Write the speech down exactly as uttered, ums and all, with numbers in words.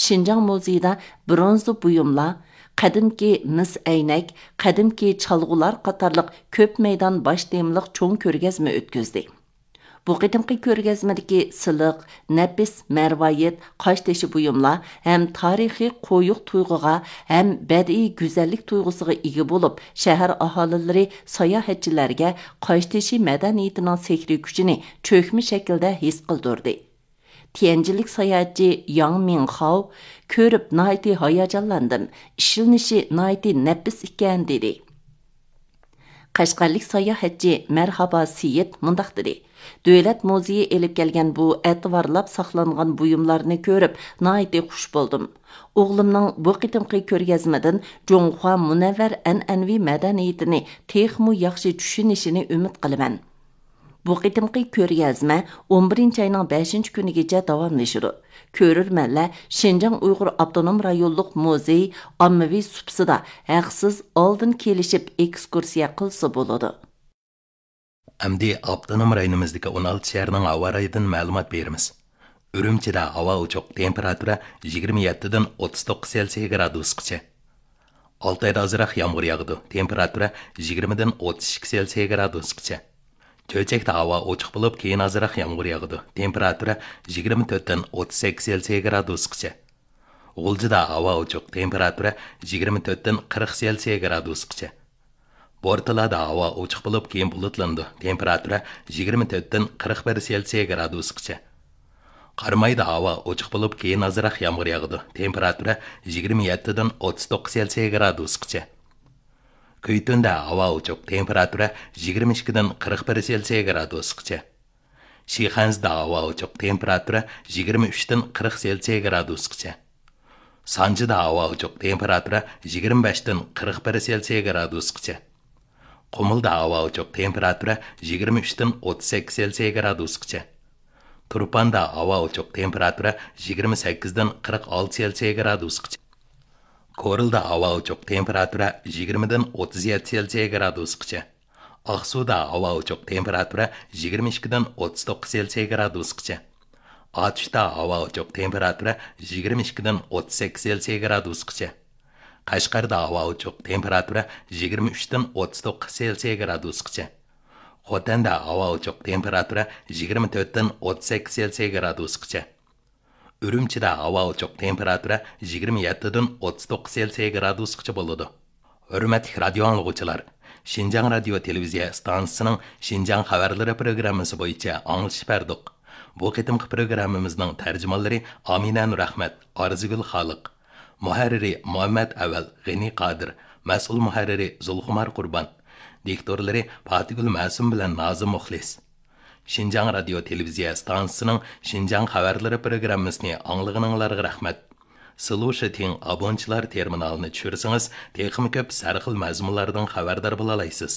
شىنجاڭ مۇزېيىدا برونزا بۇيۇملار، قەدىمكى مىس ئەينەك، قەدىمكى چالغۇلار قاتارلىق كۆپ مەيدان باش تېمىلىق چوڭ كۆرگەزمە ئۆتكۈزدى. بۇ قېتىمقى كۆرگەزمىدىكى سىلىق، نەپىس مەرۋايىت، قاشتېشى بۇيۇملار ھەم تارىخىي قويۇق تۇيغۇغا ھەم بەدىئىي گۈزەللىك تۇيغۇسىغا ئىگە بولۇپ، شەھەر ئاھالىلىرى ساياھەتچىلەرگە قاشتېشى مەدەنىيىتىنىڭ سېھرىي كۈچىنى چۆكمە شەكىلدە ھېس قىلدۇردى. تيەنجىنلىك ساياھەتچى ياڭ مىڭخاۋ، «كۆرۈپ ناھايىتى ھاياجانلاندىم، ئىشلىنىشى ناھايىتى نەپىس ئىكەن» دېدى. قەشقەرلىك ساياھەتچى مەرھابا سېيىت مۇنداق دېدى: «دۆلەت مۇزېيى ئېلىپ كەلگەن بۇ ئەتىۋارلاپ ساقلانغان بۇيۇملارنى كۆرۈپ ناھايىتى خۇش بولدۇم. ئوغلۇمنىڭ بۇ قېتىمقى كۆرگەزمىدىن جۇڭخۇا مۇنەۋۋەر ئەنئەنىۋى مەدەنىيىتىنى تېخىمۇ ياخشى چۈشىنىشىنى ئۈمىد قىلىمەن.» بۇ قېتىمقى كۆرگەزمە ئون بىرىنچى ئاينىڭ بەشىنچى كۈنىگىچە داۋاملىشىدۇ. كۆرۈرمەنلەر شىنجاڭ ئۇيغۇر ئاپتونوم رايونلۇق مۇزېي ئاممىۋى سۇپىسىدا ھەقسىز ئالدىن كېلىشىپ ئېكسكۇرسىيە قىلسا بولىدۇ. ئەمدى ئاپتونوم رايونىمىزدىكى ئون ئالتە شەھەرنىڭ ھاۋا رايىدىن مەلۇمات بېرىمىز. ئۈرۈمچىدە ھاۋا ئوچۇق، تېمپېراتۇرا يىگىرمە يەتتىدىن ئوتتۇز توققۇز سېلسىيە گرادۇسقىچە. ئالتايدا ئازراق يامغۇر ياغىدۇ، تېمپېراتۇرا يىگىرمىدىن ئوتتۇز ئىككى سېلسىيە گرادۇسقىچە. چۆچەكتە ھاۋا ئوچۇق بولۇپ، كېيىن ئازراق يامغۇر ياغىدۇ، تېمپېراتۇرا يىگىرمە تۆتتىن ئوتتۇز سەككىز سېلسىيە گرادۇسقىچە. غۇلجىدا ھاۋا ئوچۇق، تېمپېراتۇرا يىگىرمە تۆتتىن قىرىق سېلسىيە گرادۇسقىچە. بورتالادا ھاۋا ئوچۇق بولۇپ، كېيىن بۇلۇتلىنىدۇ، تېمپېراتۇرا يىگىرمە تۆتتىن قىرىق بىر سېلسىيە گرادۇسقىچە. قارامايدا ھاۋا ئوچۇق بولۇپ، كېيىن ئازراق يامغۇر ياغىدۇ، تېمپېراتۇرا يىگىرمە يەتتىدىن ئوتتۇز توققۇز سېلسىيە گرادۇسقىچە. كۈيتۈندە ھاۋا ئوچۇق، تېمپېراتۇرا يىگىرمە ئىككىدىن قىرىق بىر سېلسىيە گرادۇسقىچە. شىخەنزىدە ھاۋا ئوچۇق، تېمپېراتۇرا يىگىرمە ئۈچتىن قىرىق سېلسىيە گرادۇسقىچە. سانجىدا ھاۋا ئوچۇق، تېمپېراتۇرا يىگىرمە بەشتىن قىرىق بىر سېلسىيە گرادۇسقىچە. قۇمۇلدا ھاۋا ئوچۇق، تېمپېراتۇرا يىگىرمە ئۈچتىن ئوتتۇز سەككىز سېلسىيە گرادۇسقىچە. تۇرپاندا ھاۋا ئوچۇق، تېمپېراتۇرا يىگىرمە سەككىزدىن قىرىق ئالتە سېلسىيە گرادۇسقىچە. كورلىدا ھاۋا ئوچۇق، تېمپېراتۇرا يىگىرمىدىن ئوتتۇز يەتتە سېلسىيە گرادۇسقىچە. ئاقسۇدا ھاۋا ئوچۇق، تېمپېراتۇرا يىگىرمە ئىككىدىن ئوتتۇز توققۇز سېلسىيە گرادۇسقىچە. ئاتۇشتا ھاۋا ئوچۇق، تېمپېراتۇرا يىگىرمە ئىككىدىن ئوتتۇز سەككىز سېلسىيە گرادۇسقىچە. قەشقەردە ھاۋا ئوچۇق، تېمپېراتۇرا يىگىرمە ئۈچتىن ئوتتۇز توققۇز سېلسىيە گرادۇسقىچە. خوتەندە ھاۋا ئوچۇق، تېمپېراتۇرا يىگىرمە تۆتتىن ئوتتۇز سەككىز سېلسىيە گرادۇسقىچە. ئۈرۈمچىدە ھاۋا ئوچۇق، تېمپېراتۇرا يىگىرمە يەتتىدىن ئوتتۇز توققۇز سېلسىيە گرادۇسقىچە بولىدۇ. ھۆرمەتلىك رادىيو ئاڭلىغۇچىلار، شىنجاڭ رادىيو تېلېۋىزىيە ئىستانسىسىنىڭ شىنجاڭ خەۋەرلىرى پروگراممىسى بويىچە ئاڭلىتىش بەردۇق. بۇ قېتىمقى پروگراممىمىزنىڭ تەرجىمانلىرى ئامىنە نۇرئەخمەت، ئارزۇگۈل خالىق. مۇھەررىرى مۇھەممەد ئەۋەل، غېنى قادىر. مەسئۇل مۇھەررىرى زۇلخۇمار قۇربان. دىكتورلىرى پاتىگۈل مەسۇم بىلەن نازىم مۇخلىس. شىنجاڭ رادىيو تېلېۋىزىيە ئىستانسىسىنىڭ شىنجاڭ خەۋەرلىرى پروگراممىسىنى ئاڭلىغىنىڭلارغا رەھمەت. سىلۇشىتىڭ ئابونچىلار تېرمىنالىنى چۈشۈرسىڭىز، تېخىمۇ كۆپ سەرخىل مەزمۇنلاردىن خەۋەردار بولالايسىز.